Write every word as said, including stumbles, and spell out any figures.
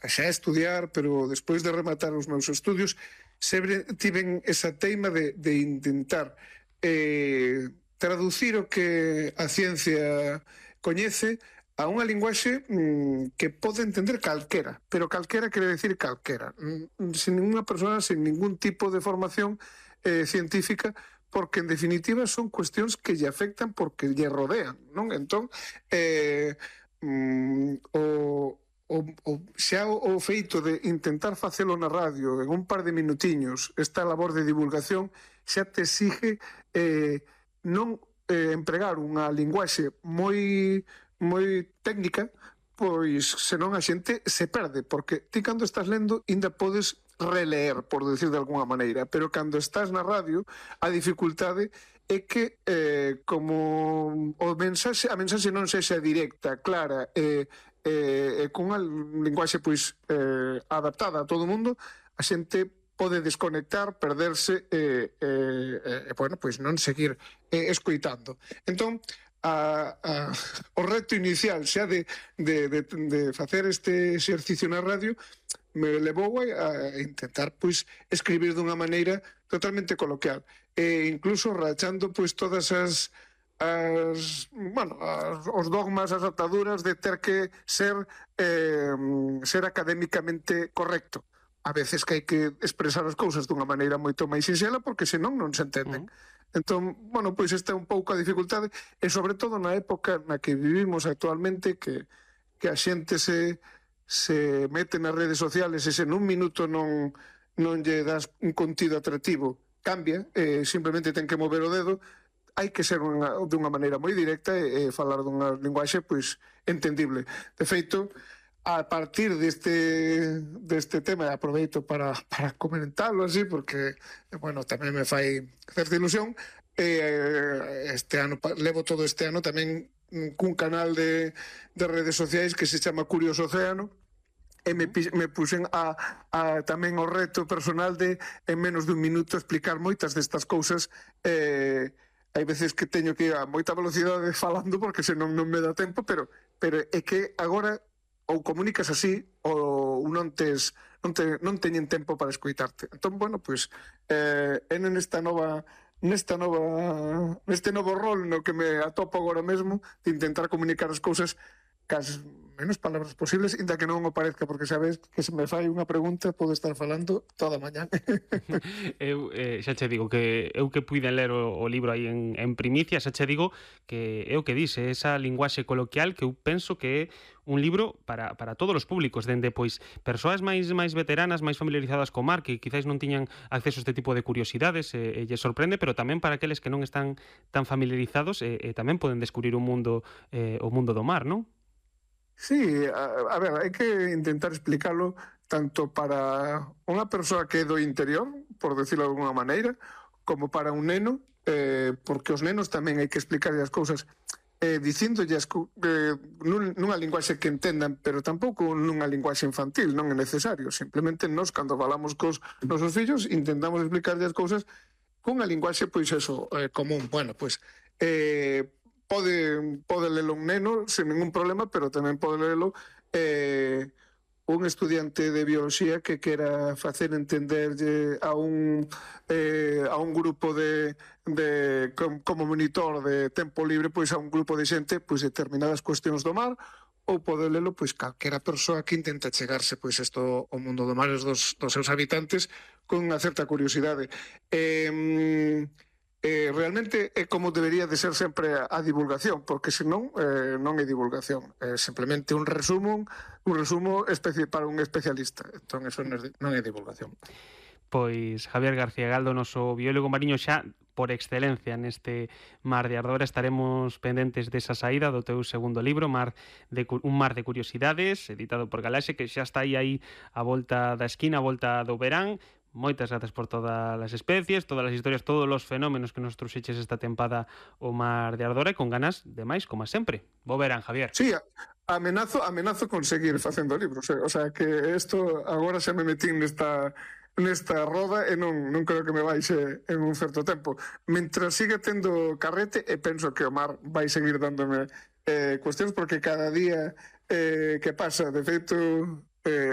xa a estudiar, pero despois de rematar os meus estudios, sempre tiven esa teima de, de intentar eh, traducir o que a ciencia coñece a unha linguaxe mm, que pode entender calquera, pero calquera quere decir calquera, mm, sin ninguna persona, sin ningún tipo de formación eh, científica, porque en definitiva son cuestións que lle afectan porque lle rodean, non? Entón, eh, mm, o, o, o, xa o, o feito de intentar facelo na radio en un par de minutiños, esta labor de divulgación, xa te exige eh, non eh, empregar unha linguaxe moi moi técnica, pois senón a xente se perde, porque ti cando estás lendo ainda podes releer, por decir de alguna maneira, pero cando estás na radio a dificultade é que eh, como o mensaxe, a mensaxe non sexa directa, clara e eh, eh, cunha linguaxe pois eh, adaptada a todo o mundo, a xente pode desconectar, perderse e, eh, eh, bueno, pois non seguir eh, escoitando. Entón, A, a, o reto inicial xa de, de, de, de facer este exercicio na radio me levou a, a intentar pois escribir dunha maneira totalmente coloquial e incluso rachando pois todas as as, bueno, as, os dogmas, as ataduras de ter que ser eh, ser académicamente correcto. A veces que hai que expresar as cousas dunha maneira moito máis sinxela porque senón non se entenden. Uh-huh. Entón, bueno, pois esta é un pouco a dificultade e sobre todo na época na que vivimos actualmente que, que a xente se, se mete nas redes sociales e se nun minuto non, non lle das un contido atractivo cambia, eh, simplemente ten que mover o dedo, hai que ser unha, de unha maneira moi directa e, e falar dunha linguaxe pois entendible. De feito, a partir deste, deste tema, aproveito para, para comentarlo así, porque, bueno, tamén me fai certa ilusión, eh, este ano, levo todo este ano tamén cun canal de, de redes sociais que se chama Curioso Océano, e me, me puxen a, a tamén o reto personal de, en menos dun minuto, explicar moitas destas cousas. Eh, hai veces que teño que ir a moita velocidade falando, porque senón non me dá tempo, pero, pero é que agora ou comunicas así ou non tes non, te, non teñen tempo para escoitarte. Entón, bueno, pois eh, é nesta nova nesta nova neste novo rol no que me atopo agora mesmo de intentar comunicar as cousas cas menos palabras posibles, inda que non o parezca, porque sabes que se me fai unha pregunta podo estar falando toda a mañá. Eu eh, xa che digo que eu que puiden ler o, o libro aí en, en primicia, xa che digo que é o que dice, esa linguaxe coloquial que eu penso que é un libro para, para todos os públicos, dende pois persoas máis máis veteranas, máis familiarizadas co mar, que quizáis non tiñan acceso a este tipo de curiosidades e, e lle sorprende, pero tamén para aqueles que non están tan familiarizados e, e tamén poden descubrir un mundo eh, o mundo do mar, non? Sí, a, a ver, hai que intentar explicarlo tanto para unha persoa que é do interior, por decirlo de alguna maneira, como para un neno, eh, porque os nenos tamén hai que explicar as cousas eh, dicíndolles eh, nun, nunha linguaxe que entendan, pero tampouco nunha linguaxe infantil, non é necesario. Simplemente nós, cando falamos cos nosos fillos, intentamos explicarlle as cousas cunha linguaxe, pois eso, eh, común. Bueno, pois... Eh, Pode, pode lelo un neno sen ningún problema, pero tamén pode lelo eh, un estudiante de biología que quera facer entenderlle a un eh, a un grupo de, de como monitor de tempo libre, pois a un grupo de xente pois determinadas cuestións do mar, ou pode lelo pois calquera persoa que intenta chegarse pois isto ao mundo do mar e dos, dos seus habitantes con unha certa curiosidade. Eh, Eh, realmente é como debería de ser sempre a, a divulgación, porque senón eh, non é divulgación, é simplemente un resumo un resumo especi para un especialista. Entón, eso non é, non é divulgación. Pois Javier García Galdo, noso biólogo mariño xa por excelencia neste Mar de Ardora. Estaremos pendentes desa saída do teu segundo libro, Mar de, Un mar de curiosidades, editado por Galaxe, que xa está aí, aí a volta da esquina, a volta do verán. Moitas grazas por todas as especies, todas as historias, todos os fenómenos que nos trouxeches esta tempada o Mar de Ardora, e con ganas de máis, como sempre. Bo verán, Javier. Sí, amenazo, amenazo con seguir facendo libros, eh? O sea, que isto agora xa me metín nesta nesta roda e non, non creo que me baixe en un certo tempo. Mentras siga tendo carrete, e penso que o mar vai seguir dándome eh, cuestións, porque cada día eh, que pasa, de feito, eh,